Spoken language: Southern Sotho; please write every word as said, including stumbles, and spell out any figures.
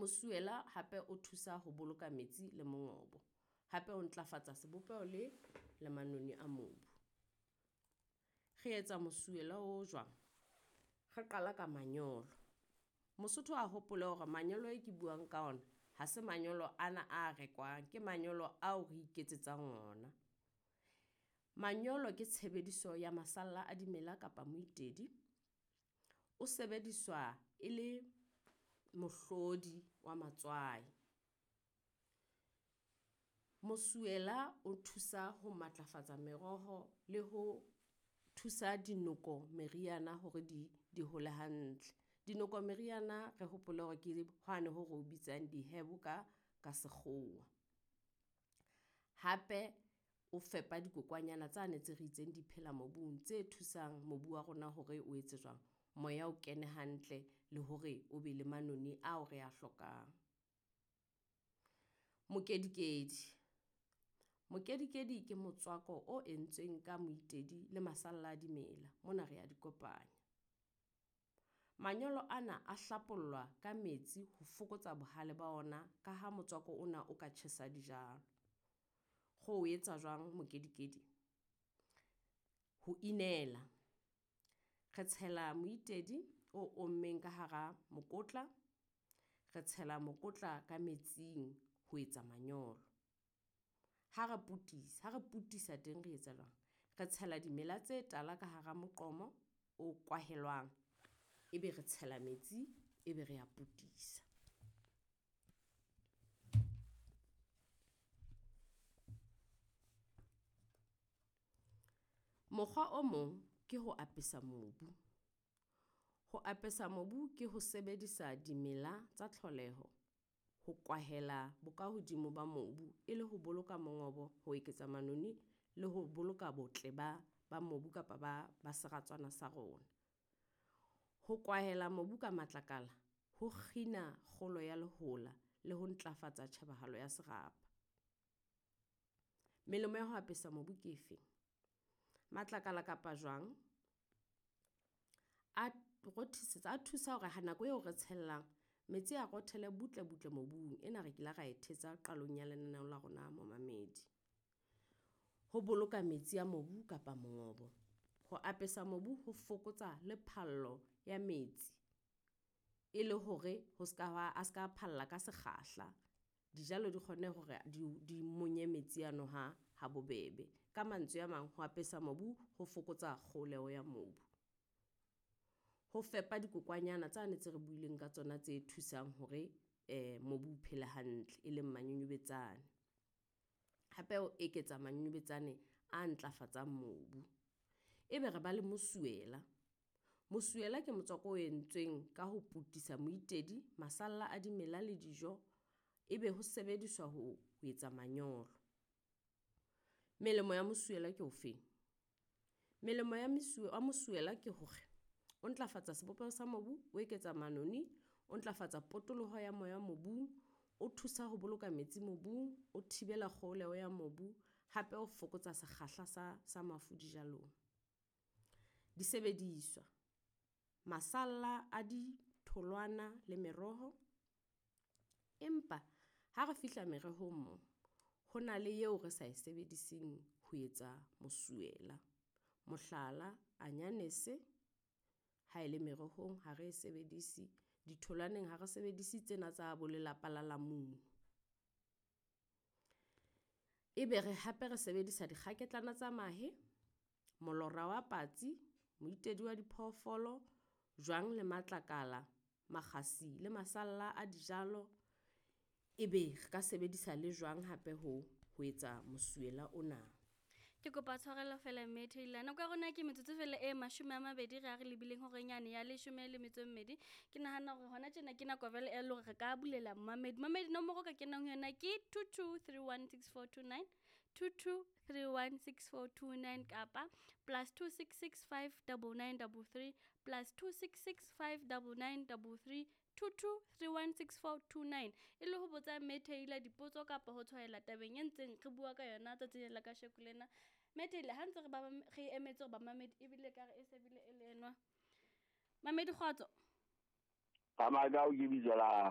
Mosuwela hape o thusa ho boloka metsi le mongobo. Hape o ntlafatsa sebopeho le le manoni a mobu. Re etsa mosuwela o jwang? Re qala ka manyolo. Mosotho a hopole hore manyolo e ke buang ka ona, ha se manyolo ana a rekwang. Ke manyolo ao re iketsetsang ona. Manyolo ke tshebediso ya masalla a dimela kapa moitedi. O sebediswa e le mohlodi wa matswai. Mosuwela o thusa ho matlafatsa meroho le ho thusa dinoko meriana hore di di hole hantle. Dinoko meriana re hopole hore ke hwane ho re o bitsang di-herb ka ka sekgowa. Hape o fepa dikokwanyana tsane tse re itseng di phela mobung, tse thusang mobu wa rona hore o etse jwang, moya o kene hantle le hore o be le manoni ao re a hlokang. Mokedikedi, mokedikedi ke motswako o entsweng ka moitedi le masalla a dimela. Mona re a di kopanya. Manyolo ana a hlapollwa ka metsi ho fokotsa bohale ba ona ka ha motswako ona o ka tjhesa dijalo. Re o etsa jwang mokedikedi? Ho inela, re tshela moitedi o ommeng ka hara mokotla, re tshela mokotla ka metsing ho etsa manyolo. Ha re potisa, ha re potisa teng re etsa jwang? Re tshela dimela tse tala ka hara moqomo o kwahelwang. Ebe re tshela metsi, ebe re a potisa. Mokgwa o mong ke ho apesa mobu. Ho apesa mobu ke ho sebedisa dimela tsa tlholeho ho kwahela bokahodimo ba mobu e le ho boloka mongobo, ho eketsa manoni le ho boloka botle ba ba mobu kapa ba ba seratswana sa rona. Ho kwahela mobu ka matlakala, ho kgina kgolo ya lehola le ho ntlafatsa tjhebahalo ya serapa. Melemo ya ho apesa mobu ke efeng? Matlakala kapa jwang, a rothisetsa a thusa hore ha nako eo re tshellang metsi a rothele butle butle mobung. Ena re kile ra e thetsa qalong ya lenaneo la rona momamedi. Ho boloka metsi a mobu kapa mongobo. Ho apesa mobu ho fokotsa le phallo ya metsi. E le hore ho seka hwa a seka phalla ka sekgahla. Dijalo di kgonne hore di di monye metsi ano ha ha bobebe. Ka mantswe a mang, ho apesa mobu ho fokotsa kgoholeho ya mobu. Ho fepa dikokwanyana tsane tse re buileng ka tsona tse thusang hore mobu o phele hantle, e leng manyonyobetsane. Hape o eketsa manyonyobetsane a ntlafatsang mobu. Ebe re ba le mosuwela. Mosuwela ke motswako o entsweng ka ho potisa moitedi, masalla a dimela le dijo. Ebe ho sebediswa ho etsa manyolo. Melemo ya mosuwela ke ofeng? Melemo ya mesuwe wa mosuwela ke hore o ntlafatsa sebopeho sa mobu, o eketsa manoni, o ntlafatsa potoloho ya moya mobung, o thusa ho boloka metsi mobung, o thibela kgoholeho ya mobu, hape o fokotsa sekgahla sa sa mafu dijalong. Disebediswa, masalla a ditholwana le meroho. Empa ha re fihla merohong mo, ho na le eo re sa e sebediseng ho etsa mosuwela. Mohlala, anyanese ha ele merohong ha re e sebedise. Ditholwaneng ha re sebedise tsena tsa bo lelapa la lamunu. Ebe re hape re sebedisa dikgaketlana tsa mahe, molora wa patsi, moitedi wa diphoofolo, jwang le matlakala, makgasi le masalla a dijalo. Ebe re ka sebedisa le jwang hape ho ho etsa mosuwela ona. Ke kopa tshwarelo fela mme Tailor. Nako ya rona ke metsotso fela e mashome a mabedi re a re lebileng horeng yane ya leshome le metso e mmedi. Ke nahana hore hona tjena ke nako jwale e le hore re ka bulela momamedi. Momamedi nomoro ka kenang ho yona ke two two three one six four two nine, two two three one six four two nine kapa plus two six six five double nine double three, plus two six six five double nine double three, two two three one six four two nine. E le ho botsa mme Tailor dipotso kapa ho tshwaela tabeng e ntseng re bua ka yona tsatsing la kasheko lena. Mme Tailor ha ntse re ba re emetse hore bamamedi ebile ka re e se bile e le enwa. Mamedi kgotso. Tsamaya ka o ke bitso la